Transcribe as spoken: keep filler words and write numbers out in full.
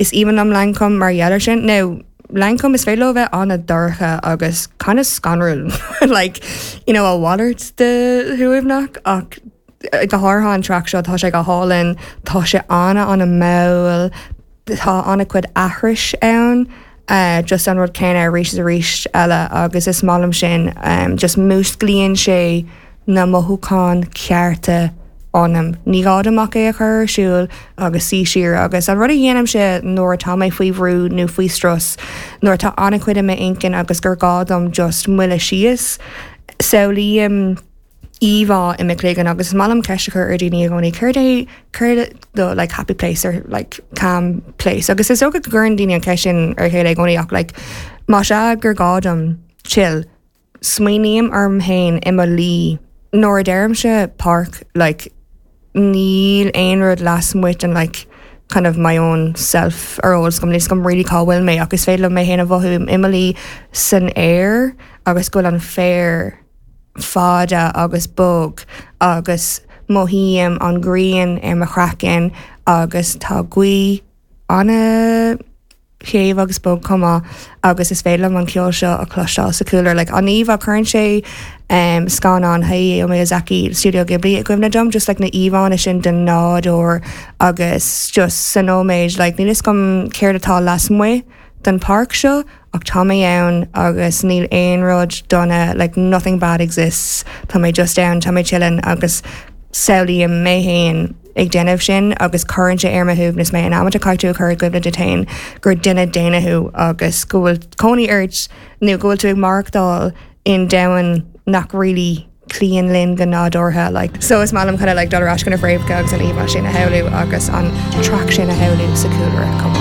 Is aoibhinn liom Lankum mar gheall air sin. Now, Lankum is féidir leo bheith an-dorcha agus kind of scanrúil like you know a mhalairt de shuaimhneach ach eh, go háirithe an track seo tá sé go hálainn tá sé ana ana mall tá an-chuid aithris ann uh, just an rud céanna arís arís eile agus is maith liom sin um, just músclaíonn sé na mothúcháin cearta ionam. Ní gá dom ach é a chur ar siúl agus suí siar agus an rud a dhéanaimse nuair atá mé faoi bhrú nó faoi strus nuair atá an-chuid i m'intinn agus gur gá dom just moille síos. Samhlaím íomhá i mo chloigeann agus is maith liom ceist a chur ar daoine i gcónaí céard é céard do like happy place or like calm place agus is dócha go gcuireann daoine an ceist sin ar chéile i gcónaí ach like má sea gur gá dom chill smaoiním orm féin i mo luí nuair a deirimse páirc like níl aon rud lasmuigh den like kind of my own self ar eolas agam níl 's agam really cá bhfuil mé agus féidir liom mé féin a mhothú i mo luí san aer agus go bhfuil an féar fada agus bog agus mothaím an ghrian ar mo chraiceann agus tá gaoth ana shéimh agus bog chomh maith agus is féidir liom an ceol seo a chloisteáil sa chúlra like an íomhá cuireann sé um, scannán Hayao Miyazaki Studio Ghibli i gcuimhne dom just like na íomhánna sin den nádúr agus just sa nóiméid like níl 'fhios agam céard atá lasmuigh den páirc seo ach tá mé ann agus níl aon rud dona like nothing bad exists Tá mé just ann tá mé chilling agus samhlaím mé féin ag déanamh sin agus cuireann sé ar mo shuaimhneas mé in am a caithfidh tú a chur i gcuimhne duit féin gur duine daonna thú agus go bhfuil cónaí ort nó go bhfuil tú ag maireachtáil in domhan nach really cloíonn linn go nádúrtha like so is maith liom kind of like dul ar ais go na fréamhacha agus an íomhá sin a shamhlú agus an track sin a shamhlú sa chúlra chomh maith.